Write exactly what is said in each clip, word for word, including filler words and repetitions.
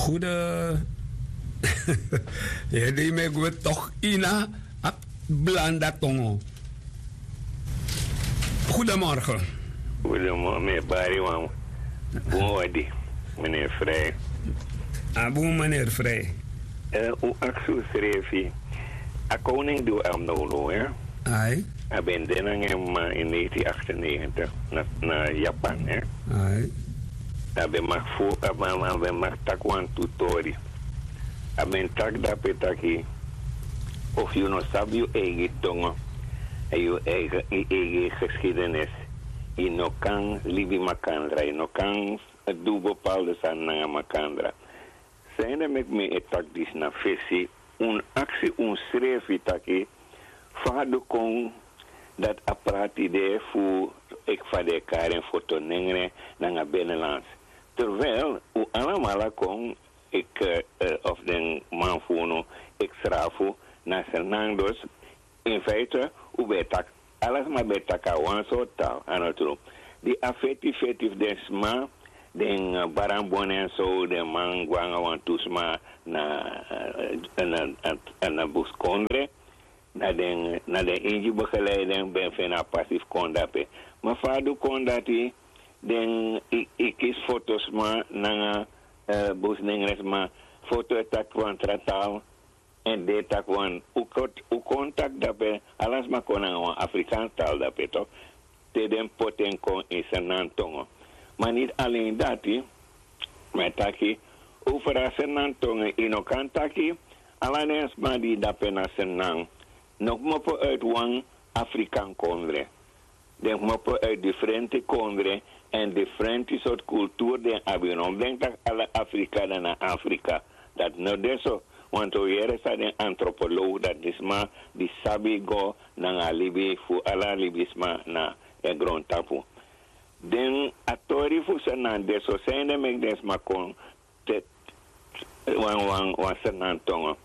Goede. Hede me gwe toch ina a blanda tongo. Goedemorgen. Goedemorgen, meneer Bariwan. Bon odi, meneer Vrij. A bon, meneer Vrij. Eh, u aksu srefi. A koning di u am no no, hè? Ai. A ben de nanga en mama in negentien achtennegentig na, na Japan, hè? Ai. A ben mag fu, a ben, a ben mag taki wan tu tori. A ben taki dape taki, of yu no sabi yu eigi tongo, en yu eigi, yu eigi geschiedenis, yu no kan libi makandra, yu no kan du bepaalde sani nanga makandra. Sende meki mi e taki disi na fesi, un aksi unsrefi taki, fa a du kon dati a prati de fu, eki fa den e kari en, foto nengre nanga benelands. Terwijl u alamala kon, eki, eh, of den man fu unu, eki srafu na Sernang, dus in feite u ben e taki, ala sma ben e taki a wan sortu taal, a no tru. Di a feti feti fu den sma, den, eh, baramboni en so, den man go nanga wantu sma na, eh, na, na, na buskondre, na den, na den Ingi begeleiding ben feni a pasi fu kon dape. Ma fa a du kon dati, den e, e kisi fotosma nanga, eh, busnengresma, foto e taki wan tra taal, en den e taki wan, u kon, u kon taki dape, ala sma kon nanga wan Afrikaans taal dape toch, te den poti en kon in Sernang tongo. Ma niet alleen dati, ma taki, over a Sernang tongo, yu no kan taki, ala den sma di dape na Sernang, no kmopo uit wan Afrikaan kondre. Den kmopo uit diferente kondre en diferente sortu kulturu den abi. No denki taki ala Afrika dan na Afrika. Dati no de so. Want un yere san den antropoloog, dati den sma di sabi go nanga a libi fu ala libisma na den grontapu. Den a tori fu Sernang de so, sende meki den sma kon te wan, wan, wan Sernang tongo.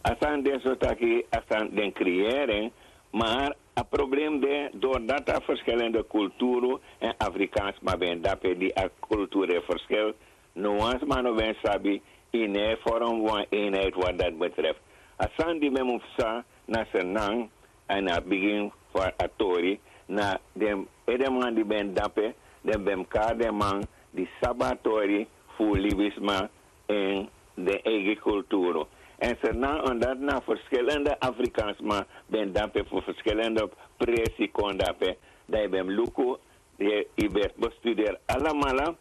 A sani de so taki, a sani den creëren, maar a probleem de, doordat a verschillende culturen en Afrikaans sma ben dape, di a cultuur e verschil, no wan sma no ben sabi, yu no e vorm wan eenheid wat dat betreft. A sani di men mu psa na Sernang, en a bigin fu a tori, na den edeman di ben dape, den ben kari den man di sabi a tori fu libisma en den eigi kulturu. En Sernang, omdat na verschillende Afrikaansma ben dape fu verschillende presi kon dape, dan yu ben luku, yu, yu ben bestuderi alamala,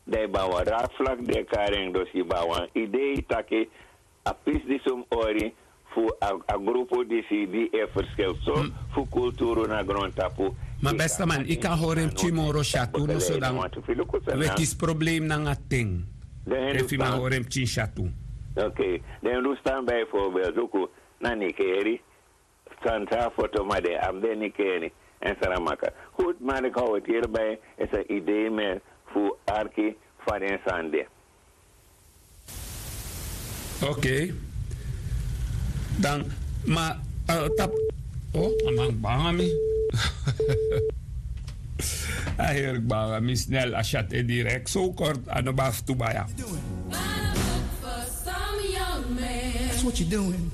dan yu ben abi wan raadvlak di e kari en, dus yu ben abi wan idee taki a pisi disi un mus hori fu a, a grupu disi di e verschil so fu kulturu na grontapu. Ma beste man, yu kan hori en pikin moro syatu, no so dan wi e kisi problem nanga ten. Efu yu man hori en pikin syatu. Oké, den du stan bijvoorbeeld, luku, na Nikeri, san sa foto ma den abi den Nikeri, en Saramaka. Goed, maar ik hou het hierbij, is een idee meer fu arki fa den sani de. Oké. Dan, ma, eh, tap. Oh, a man banga mi. A heri banga mi snel, a syatu e direct. So kort, a no baf tu baya. That's what you doing.